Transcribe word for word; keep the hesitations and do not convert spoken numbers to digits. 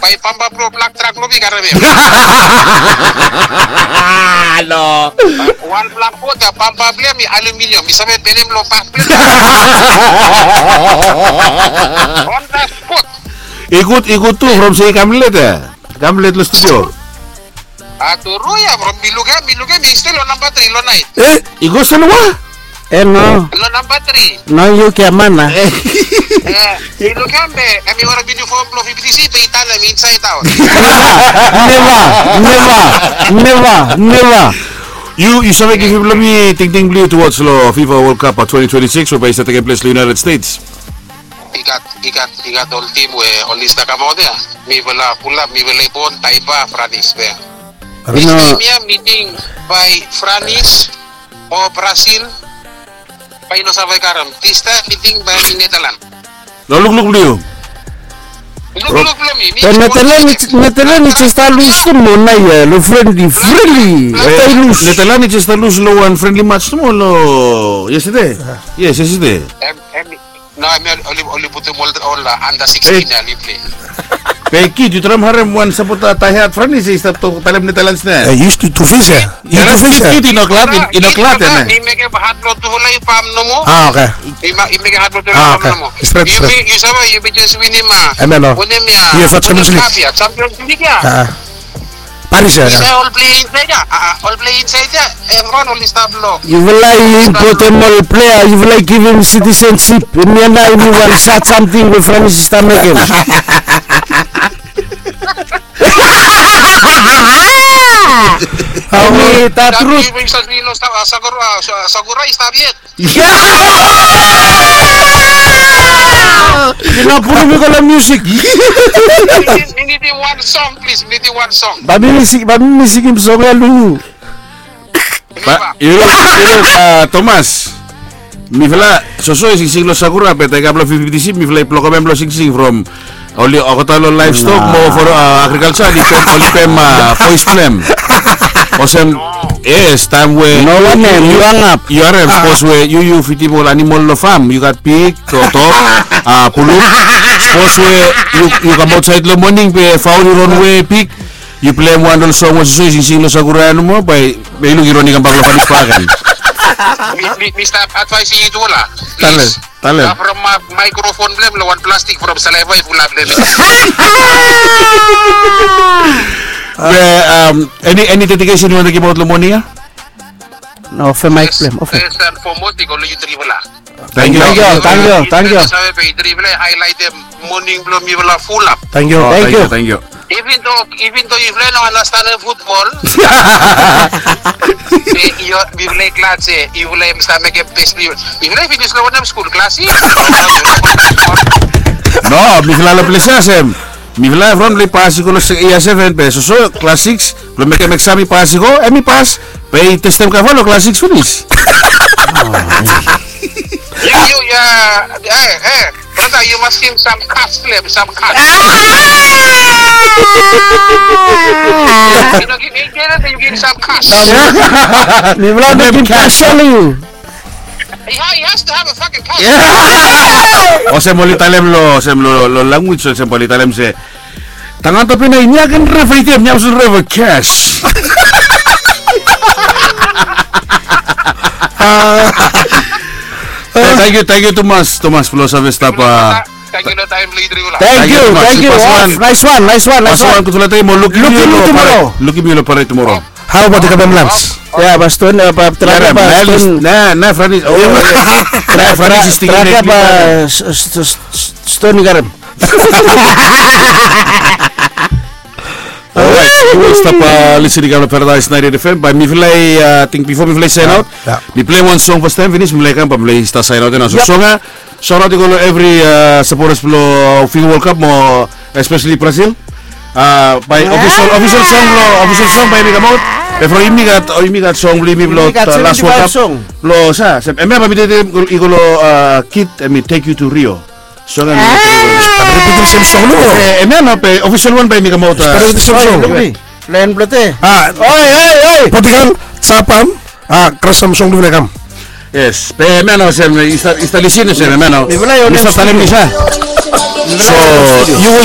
Ai, bamba blo blak trak blo mi i karem hem. No. Wan blak bot ya, bamba blo hem i aluminium, mi save belem lo bak blo hem. On the spot. I gud, i gud tu from se i kam let ya. Kam let lo studio. A tru ya, from mi lukim, mi lukim, i stil lo namba tri lo naet. E, i go se lo wa? E no. Lo namba tri. No, yu giaman a. E, mi lukim be, hemi werim uniform blo fifty-three be i tanem inside out. Neva, neva, neva, neva. Yu, yu save givim lo mi tingting blo yu towards lo FIFA World Cup twenty twenty-six we bae i stap tekem ples lo United States. I gat, i gat, i gat ol tim we oli stap kamaot ya. Mifala pulap, mifala i bon, Taiba, Franis be. Next time ya, mi ting bae Franis o Brasil bae i no save karem. This time mi ting bae i Netherlands. Lo lukluk blo yu. Lukluk blo mi, mi. Netherlands i jes stap lus tu mo nao ya lo friendly, friendly. Stap lus. Netherlands i jes stap lus lo wan friendly match tu mo lo yesterday. Yes, yesterday. Em, em, No, hemi oli, oli putum ol, ol, a, under sixteen ya oli plei. Be kid, yu traem harem wan sapota diehard Franis i stap tok talem Netherlands nao. E, yu stu tu fes ya. Yu tu fes ya. Kid i no glad, i no glad ya. I mekem had blo tufala i bam nomo. A, oke. I mekem had blo tufala i bam nomo. Stret, stret. Yu save, yumi jes winim, a. Winim ya. Yu Champions League ya. Champions League ya. Paris ya. Ol plei insaed ya, a, ol plei insaed ya, evriwan oli stap lo. Yufala i impotem ol plea, yufala i givim sitisensip. Hemia nao hemi wan sad samting we Franis i stap mekem. Hemi tatrut. Sakura i stap yet. Yu no pulum mi go long musik. Mi nidim wan song, plis. Mi nidim wan song. Bae mi singim song ya long yu. Bae yu luk, yu luk, a, Thomas. Mifala soso i singsing long Sakura be taem i kam long fifty-three mifala i blokem hem blong singsing from oli olgeta long livestock mo for, a, agriculture, oli pem, oli pem, a, boys blong hem. Olsem, yes, taem we no wanem, yu, yu hangap. Yu harem, sapos we yu, yu fidim ol animol long fam, yu gat pig, toto, a, buluk. Sapos we yu, yu kam aotsaed long moning be faol i ronwe, pig, yu pleim wan ol song we soso i singsing long Sakura ya nomo, bae, bae yu luk i ron i kambak long Franis bakegen. Mi, mi, mi stap advaesem yu tufala. Talem. Talem. From microphone blong hem long wan plastik from saliva i fulap long hem. Be, um, eni, eni dedikesen yu wantem givimaot long moning ya? No, ofe maek blong hem, ofe. First and foremost i go long yu trifala. Tangkiu, tangkiu, tangkiu. Save be yu trifala i haelaetem moning blong mifala fulap. Tangkiu, tangkiu. Even though, even though yufala i no andastanem futbol, be yu, mifala i glad se yufala i stap mekem bes blong yufala. Yufala i finis long wanem skul, klas sikis? No, mifala long ples ya olsem, mifala evriwan i pas i go long yia seven be soso klas sikis blong mekem eksam i pas i go, hem i pas, be i testem kava long klas sikis finis. Yu, yu, ya, e, e. Brother, yu mas givim sam kas blong hem, sam kas. Yu no givim eight hundred, yu givim sam kas. Mifala no givim kas long yu. He, he has to have a fucking kas. Olsem oli talem long, olsem long, long language, olsem oli talem se, tangata pena i niaken reva i tem, niam sun reva cash. Tangkiu, tangkiu tumas, Thomas, blong save stap, a. Tangkiu long taem blong yu trifala. Tangkiu, tangkiu. Nice one, nice one, nice one. Gudfala taem mo lukim yu long parade tumoro. Lukim yu long parade tumoro. Hao baot i gat hem lans? Ya, bae Stone, bae Stone. Na, na Franis. Na Franis i sting. Bae Stone i gat hem. Alright, yu stap lisin i kam long Paradise ninety-eight F M. Bae mifala i, ating bifo mifala i saen aot, mi pleim wan song fastaem finis, mifala i kam bae mifala i stap saen aot ya nao. So song ya, saot i go long evri sapotas blong FIFA World Cup mo espeseli Brazil. Bae ofisol, ofisol song blong, ofisol song bae hemi kamaot. Be from yumi gat, yumi gat song blong yumi blong las World Cup. Blong sa, hemia bae mi tekem i go long kid, hemi Take You to Rio. Song ya. Hemia nao be ofisol wan bae hemi kamaot. Long en blong te. Oi, oi, oi. Portugal, Japan. A, Krasom song blong yufala i kam. Yes, be hemia nao olsem, yu stap, yu stap lisin olsem hemia nao. Yu stap talem mi sa. So yu we